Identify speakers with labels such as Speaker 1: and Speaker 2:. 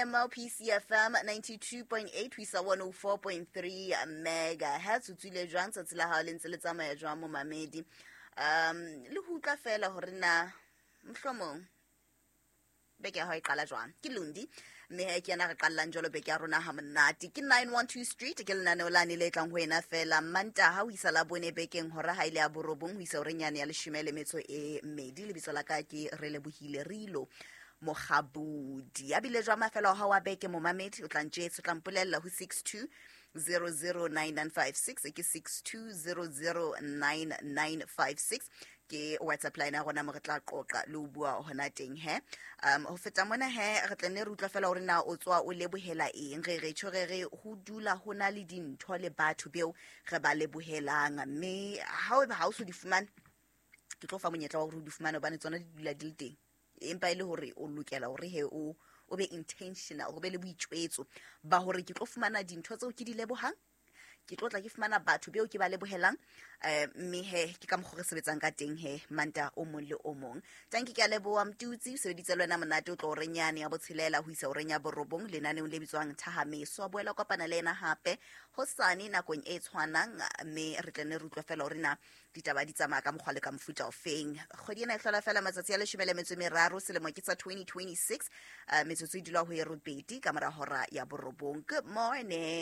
Speaker 1: PCFM 92.8 ho isa 104.3 megahertz. O tswile jwang tsatsi la hao le ntse le tsamaya jwang, momamedi? Le ho utlwa fela hore na mohlomong beke ya hao e qala jwang. Ke Lundi, mme he ke yena re qallang jwalo beke ya rona ha monate. Ke 912 Street, ke lenaneo lane le tlang ho ena fela Mantaha ho isa la bone bekeng, hora ha ile ya 9 ho isa horeng yane ya 12. Lebitso la ka ke Relebohile Rilo Mogabudi. A bile jwa mafelo a hao a beke, momamedi? O tla ntjetse, o tla mpolella ho 62 009956. Ke 62009956, ke WhatsApp line ya rona mo re tla qoqa le ho bua hona teng he. Ho feta mona he, re tla nne re utlwa fela hore na o tswa o lebohela eng. Re re tjho, re re ho dula ho na le dintho le batho beo re ba lebohelang, mme ha o ha o so di fumane, ke tlo fa monyetla wa hore o di fumane, hobane tsona di dula di le teng, empa e le hore o lokela hore he o be intentional, ho be le boitjwetso ba hore ke tlo fumana dintho tseo ke di lebohang, ke tlo tla ke fumana batho beo ke ba lebohelang. Mme he ke ka mokgwa re sebetsang ka teng he Manta o mong le o mong. Tanki, ke a leboha. Mtutsi o sebeditse le wena monate, o tlo horeng yane ya 6 ho isa horeng ya 9 lenaneong le bitswang Thahameso. A boela kopana le ena hape hosane nakong e tshwanang, mme re tla ne re utlwa fela hore na ditaba di tsamaya ka mokgwa le ka mofuta ofeng. Kgwedi ena e hlola fela matsatsi a 13, selemo ke sa 2026. Metsotso e dula ho e 8 ka mora hora ya 9. Good morning.